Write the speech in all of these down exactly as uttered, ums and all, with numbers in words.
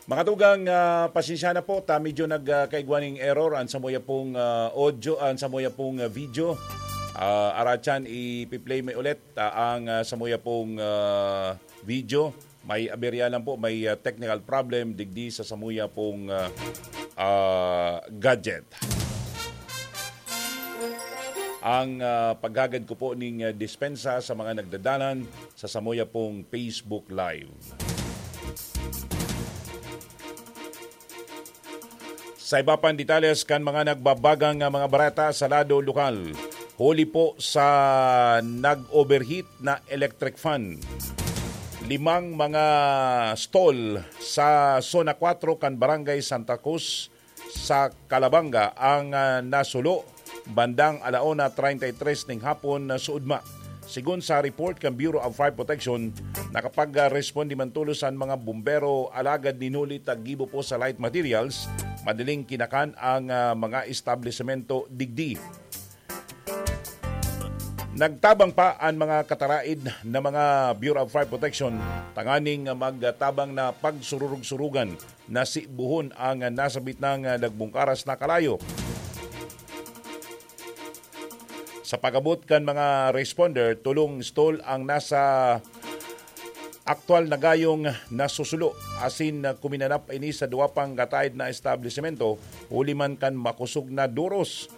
Mga tugang, ah, pasensya na po, ta medyo nag, ah, kaigwa ning error ang samuya pong, ah, audio, ang samuya pong, ah, video. Ah, aratyan, ipi-play mi ulit, ah, ang, ah, samuya pong, ah, video. May aberya lang po, may, ah, technical problem digdi sa samuya pong, ah, ah, gadget. Ang, ah, paghagad ko po ning, ah, dispensa sa mga nagdadalan sa samuya pong Facebook Live. Sa iba pang detalles kan mga nagbabagang, ah, mga bareta sa lado lokal, huli po sa nag-overheat na electric fan, limang mga stall sa Zona Cuatro kan Barangay Santa Cruz sa Calabanga ang, ah, nasulo bandang ala una treinta y tres ning hapon na suudma. Sigon sa report kan Bureau of Fire Protection, nakapag-responde man tolos an mga bumbero, alagad nin huli ta gibo po sa light materials, madaling kinakan ang, ah, mga establisemento digdi. Nagtabang pa an mga kataraid na mga Bureau of Fire Protection tanganing magtabang na pagsururog-surugan na sibuhon ang nasabit nang nagbungkaras na kalayo. Sa pag-abot kan mga responder, tolong stall ang nasa aktual na gayong nasusulo, asin kuminanap ini sa duwa pang kataid na establisemento, huli man kan makosog na duros.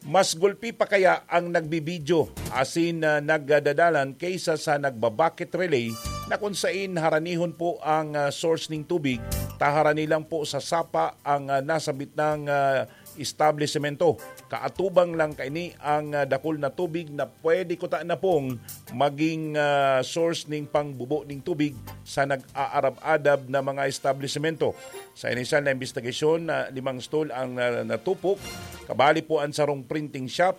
Mas gulpi pa kaya ang nagbibidyo asin, ah, nagdadalan kaysa sa nagbabakit relay na kung sain haranihon po ang, ah, source ning tubig, ta harani lang po sa sapa ang, ah, nasabit nang, ah, establisemento. Kaatubang lang kaini ang, ah, dakul na tubig na pwede kuta na pong maging, ah, source ning pangbubo ning tubig sa nag-aarab-adab na mga establisemento. Sa inisyal na imbestigasyon, na limang stall ang, ah, natupok, kabali po ang sarong printing shop,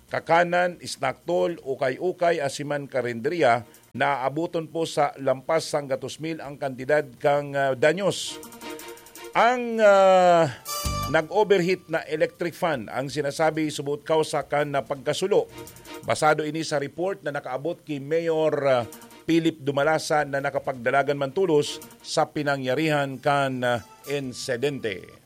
kakanan, snack stall, ukay-ukay, asiman karinderya, naabuton po sa lampas sanggatos mil ang kantidad kan, ah, danyos. Ang, ah, nag-overheat na electric fan ang sinasabi subot kausa kan, ah, pagkasulo. Basado ini sa report na nakaabot ki Mayor, ah, Philip Dumalasa na nakapagdalagan man tolos sa pinangyarihan kan, ah, insidente.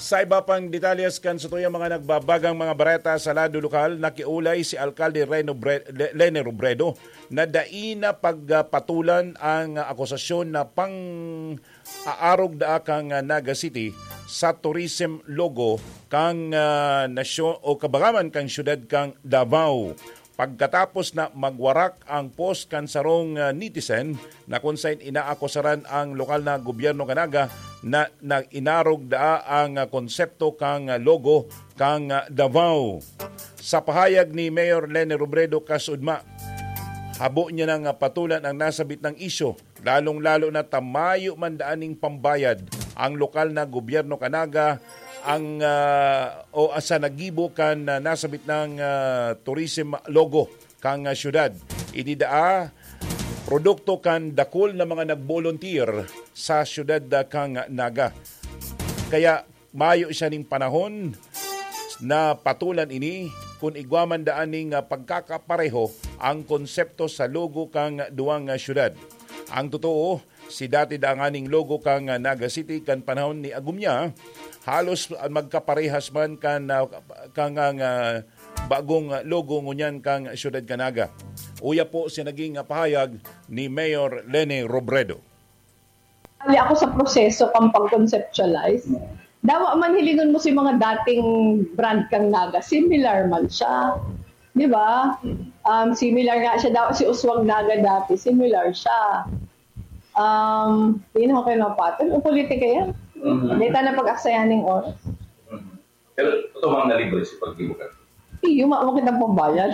Sa iba pang detalles kan satuyang mga nagbabagang mga bareta sa lado lokal, nakiulay si Alkalde Reno Bre-, Le-, Lene Robredo na dai na pagpatulan ang akusasyon na pang-aarog daa kan Naga City sa tourism logo kan, ah, nasyon o kabagaman kan siyudad kan Davao. Pagkatapos na magwarak ang post kan sarong, ah, netizen na kun saen inaakusaran ang lokal na gobyerno kan Naga na nag-inarog daa ang, ah, konsepto kan, ah, logo kan, ah, Davao. Sa pahayag ni Mayor Lene Robredo kasuodma, habo niya nang, ah, patulan ang nasabit na isyu, lalong-lalo na ta mayo man daa ning pambayad ang lokal na gobyerno kan Naga ang, ah, o sa naggibo kan, ah, nasabit na, ah, tourism logo kan, ah, syudad. Ini daa produkto kan dakul na mga nag-volunteer sa syudad, ah, kan Naga. Kaya mayo siya ning panahon na patulan ini kun igwa man daa ning, ah, pagkakapareho ang konsepto sa logo kan duwang, ah, syudad. Ang totoo, si dati daa nganing logo kan, ah, Naga City kan panahon ni Agumya, halos, ah, magkaparehas man kan, ah, kan, ah, bagong, ah, logo ngunyan kan syudad kan Naga. Uya po si naging, ah, pahayag ni Mayor Lene Robredo. Ali ako sa proseso kan pag-conceptualize. Dawa man hilingon mo si mga dating brand kan Naga, similar man siya. Di ba? Um, similar nga siya. Dawa si Uswag Naga dati, similar siya. Um, di na ako kayo mapatol. Ang politika yan. Mhm. Di tayo na pag-aksayan ng oras. Mhm. Pero totoo bang nalibre si pagdibukan? Iyo, ma-, makita pambayad.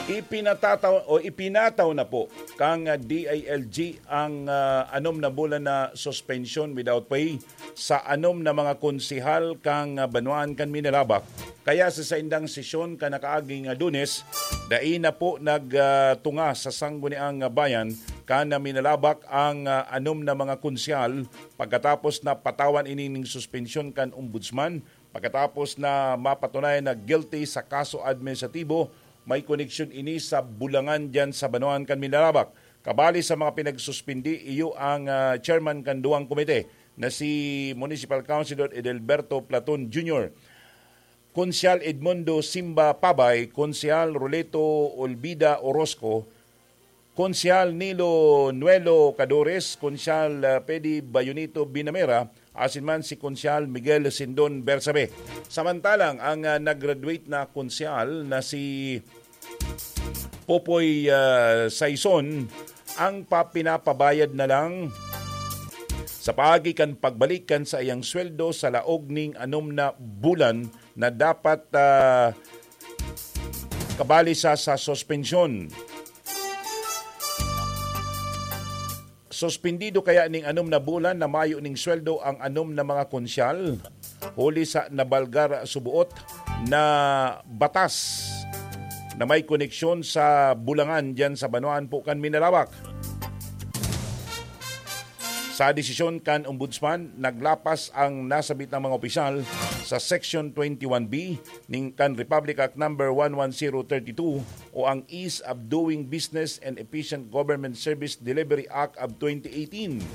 Ipinatataw o ipinataw na po kang D I L G ang, ah, anom na bulan na suspension without pay sa anom na mga konsehal kang, ah, banwaan kan Minalabac. Kaya sa saindang sesyon kan nakaaging, ah, Lunes, dai na po nag, ah, tunga sa Sangguniang Bayan kan Minalabac ang, ah, anom na mga konsehal pagkatapos na patawan ini ning suspensyon kan ombudsman pagkatapos na mapatunayan na guilty sa kaso administratibo. May koneksyon ini sa Bulangan diyan sa banwaan kan Minalabac. Kabali sa mga pinagsuspindi, iyo ang, ah, chairman kan duwang komite na si Municipal Councilor Edelberto Platon Junior, Konsehal Edmundo Simba Pabay, Konsehal Roleto Olvida Orozco, Konsehal Nilo Nuelo Cadores, Konsehal, ah, Pedi Bayonito Binamera, asin man si Konsehal Miguel Sindon Bersabe. Samantalang ang, ah, nag-graduate na konsehal na si Popoy, ah, Saison, ang pa-, pinapabayad na lang sa paagi kan pagbalik kan saiyang sweldo sa laog ning anom na bulan na dapat, ah, kabali sa, sa suspensyon. Suspendido kaya ning anom na bulan na mayo ning sweldo ang anom na mga konsehal, huli sa nabalgar subuot na batas na may koneksyon sa Bulangan diyan sa banwaan po kan Minalabac. Sa desisyon kan Ombudsman, naglapas ang nasabit na mga opisyal sa Section twenty-one B ning kan Republic Act Number one one zero thirty-two o ang Ease of Doing Business and Efficient Government Service Delivery Act of twenty eighteen.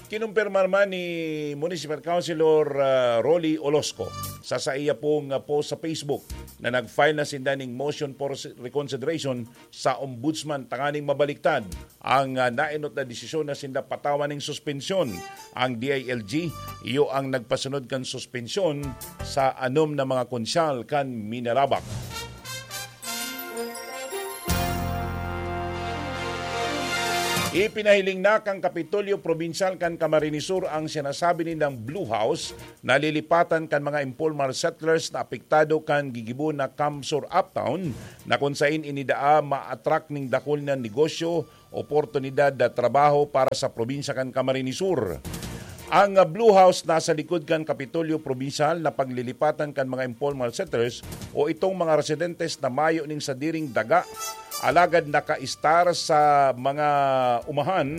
Kinumpirma naman ni Municipal Councilor, ah, Rolly Olosco sa saiya pong, ah, post sa Facebook na nag-file na sinda ning motion for reconsideration sa Ombudsman tanganing mabaliktad ang, ah, naenot na desisyon na sinda patawan ning suspensyon. Ang D I L G, iyo ang nagpasunod kan suspensyon sa anom na mga konsehal kan Minalabac. Ipinahiling na kan Kapitolyo Probinsyal kan Camarines Sur ang sinasabi nindang Blue House na lilipatan kan mga informal settlers na apektado kan gigibo na CamSur Uptown, na kun sain ini daa ma-attract ning dakul na negosyo, oportunidad na trabaho para sa probinsya kan Camarines Sur. Ang Blue House nasa likod kan Kapitolyo Probinsyal na paglilipatan kan mga informal settlers o itong mga residentes na mayo ning sadiring daga, alagad nakaistar sa mga umahan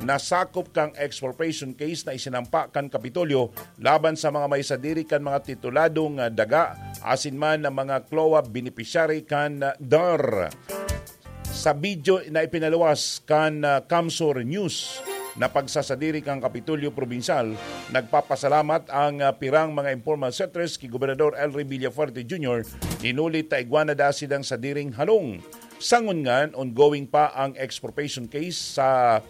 na sakop kan expropriation case na isinampa kan Kapitolyo laban sa mga may sadiri kan mga tituladong, ah, daga asin man ang mga CLOA beneficiary kan, ah, dar. Sa video na ipinaluwas kan, ah, CamSur News na pagsasadiri kan Kapitolyo Probinsyal, nagpapasalamat ang, ah, pirang mga informal settlers ki Gobernador El Rey Villafuerte Junior, hinulit ta igwa na daa sidang sadiring halong. Sa ngunyan, ongoing pa ang expropriation case sa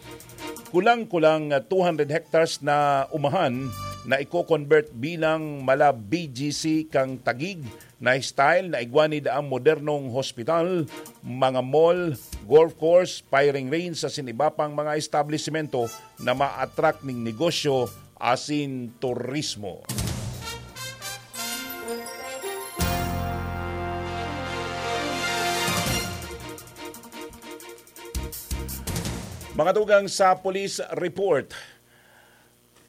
kulang-kulang two hundred hectares na umahan na iko-convert bilang mala B G C kan Taguig na style na igwa ni daang modernong hospital, mga mall, golf course, firing range asin iba pang mga establisemento na ma-attract ning negosyo asin turismo. Mga tugang, sa police report.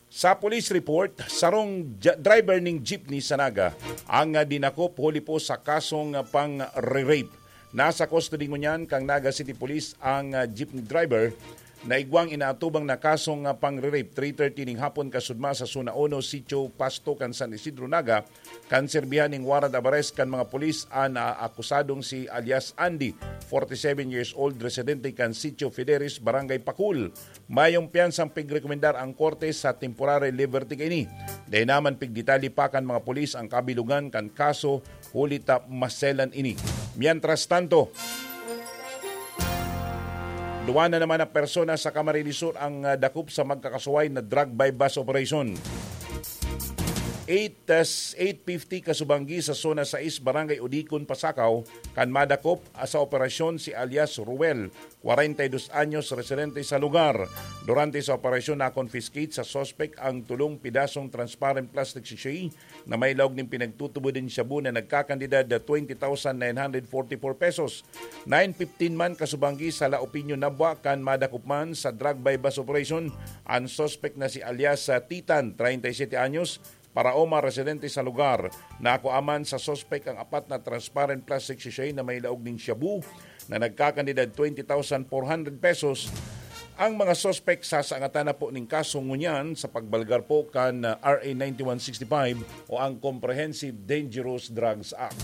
Sa police report, sarong ja-, driver ning jeepney sa Naga ang, ah, dinakop huli po sa kasong, ah, pang-re-rape. Nasa custody ngunyan kan Naga City Police ang, ah, jeepney driver na igwang inaatubang na kasong, ah, pang-re-rape. Three thirty ning hapon kasudma sa Zona Uno, Sitio Pasto kan San Isidro, Naga, kan serbihan ning warrant of arrest kan mga pulis an, ah, akusadong si alias Andy, forty-seven years old, residente kan Sitio Fideris, Barangay Pakul. Mayong piyansang pigrekomendar ang korte sa temporary liberty kaini. Dai naman pigdetalye pa kan mga pulis ang kabilugan kan kaso, huli ta maselan ini. Mientras tanto, duwa na naman na persona sa Camarines Sur ang, ah, dakop sa magkakasuway na drug buy-bust operation. Eight, ah, eight fifty kasubanggi sa Zona sais, Barangay Udicon, Pasacao, kan madakop, ah, sa operasyon si alias Ruel, kwarenta y dos anyos, residente sa lugar. Durante sa operasyon, na-confiscate sa suspek ang tulong pidasong transparent plastic sachet na may laog nin pinagtutubod nin shabu na nagkakantidad na twenty thousand nine hundred forty-four pesos. Nine fifteen man kasubanggi sa La Opinion, Nabua, kan madakop man sa drug buy-bust operation an suspek na si alias, ah, Titan, treinta y siete anyos, Paraoma, residente sa lugar. Nakua man sa suspek ang apat na transparent plastic sachet na may laog nin shabu na nagkakantidad twenty thousand four hundred pesos. Ang mga suspek sasangatan na po ning kaso ngunyan sa pagbalgar po kan, ah, R A ninety-one sixty-five o ang Comprehensive Dangerous Drugs Act.